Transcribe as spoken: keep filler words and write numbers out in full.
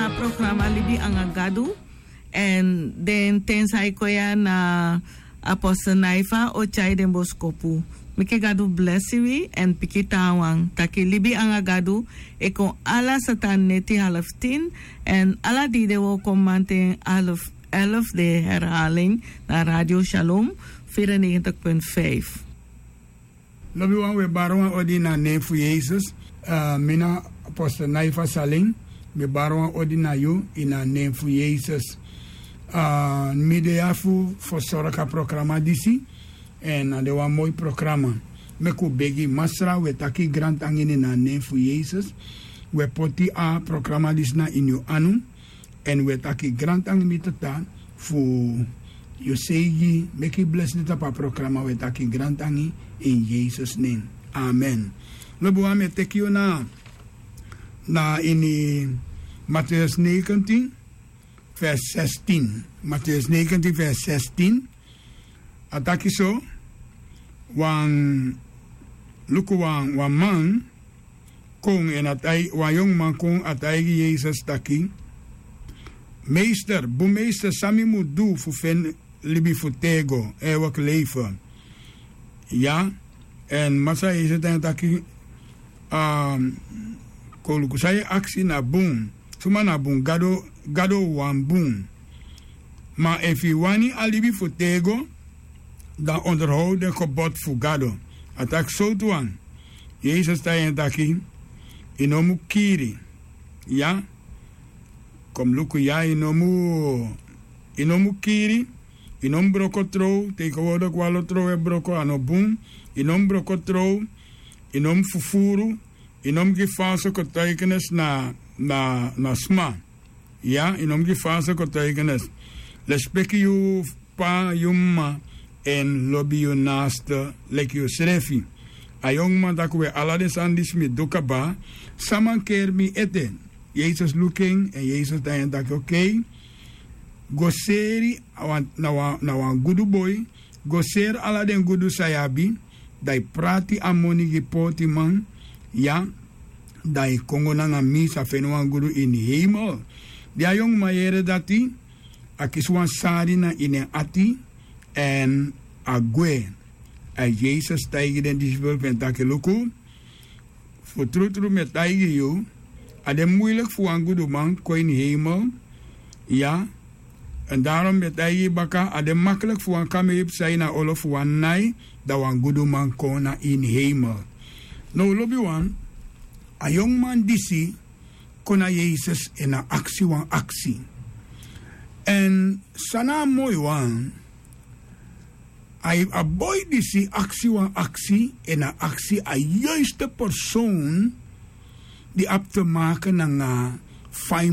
A programa Libi anga Gadu. Èn den ten san e kon ya na Apostel Naifa o tyai den boskopu. Meke Gadu blesi wi èn piki taawan taki Libi anga Gadu e kon ala satan neti half tin. Èn ala dei den wooko manten half elf, de herhaling na Radio Shalom vierennegentig punt vijf. Lobiwan, wi e bari wan odi na nen fu Yesus. Mi na Apostel Naifa Saling. Mi e bari wan odi na yu ini a nen fu Yesus. Mi de ya fu fersorgu a programa disi. Èn a de wan moi programa. Meki un begi Masra, wi e taki grantangi ini a nen fu Yesus. Wi e poti a programa disi na ini yu anu. Èn wi e taki grantangi, mi Tata, fu yu seigi meki blesi tapu a programa. Wi e taki grantangi ini Yesus nen. Amen. Lobiwan, mi e teki yu na, na ini Mateus negentien vers zestien. Mateus negentien vers zestien. A taki so: wan, luku, wan, wan man kon, èn a tai-, wan yongu man kon, a taigi Yesus taki: Meester, bun meester, san mi mu du fu feni libi fu tego, eeuwig leven? Ya. Èn Masra Yesus taigi en taki: Kon luku, san yu e aksi na bun. Suma na bun? Gado, Gado wani bun. Ma efu yu wani a libi fu tego, dan onderhoud den gebod fu Gado. A taki: Sowtu wan? Yesus taigi en taki: Yu no mu kiri. Ya. Kon luku, ya, yu no mu, yu no mu kiri, yu no mu broko trow, tegenwoordig wan lo trow e broko, a no bun. Yu no mu broko trow, yu no mu fufuru, yu no mu gi false getuigenis na, na, na sma. Ya, yu no mu gi false getuigenis. Lespeki yu p'pa, yu m'ma, èn lobi yu naaste leki yusrefi. A yongu man taki: We, ala den sani disi mi du kaba, san mankeri mi ete? Yesus luku en, èn Yesus taigi en taki: Okei, go seri a wan, na wan, na wan gudu boi, go seri ala den gudu san yu abi, dan yu prati a moni gi pootiman, ya, dan yu kon go nanga mi, sa feni wan gudu ini heimel. Di a yongu man yere dati, a kisi wan sari na ini en ati, èn a gwe. Èn Yesus taigi den disipel fu en taki: Luku, fu trutru mi e taigi yu, a de muiliki fu wan guduman kon ini heimel. Ya. Èn daarom mi e taigi yu baka, a de makliki fu wan kamei psa ini a olo fu wan nai, dan wan guduman kon na ini heimel. Now, lobiwan, a yongu man disi kon na Yesus èn a aksi wan aksi. Èn san na a moi wan, a, a boi disi aksi wan aksi, èn a aksi a juiste persoon di abi te maken nanga fa yu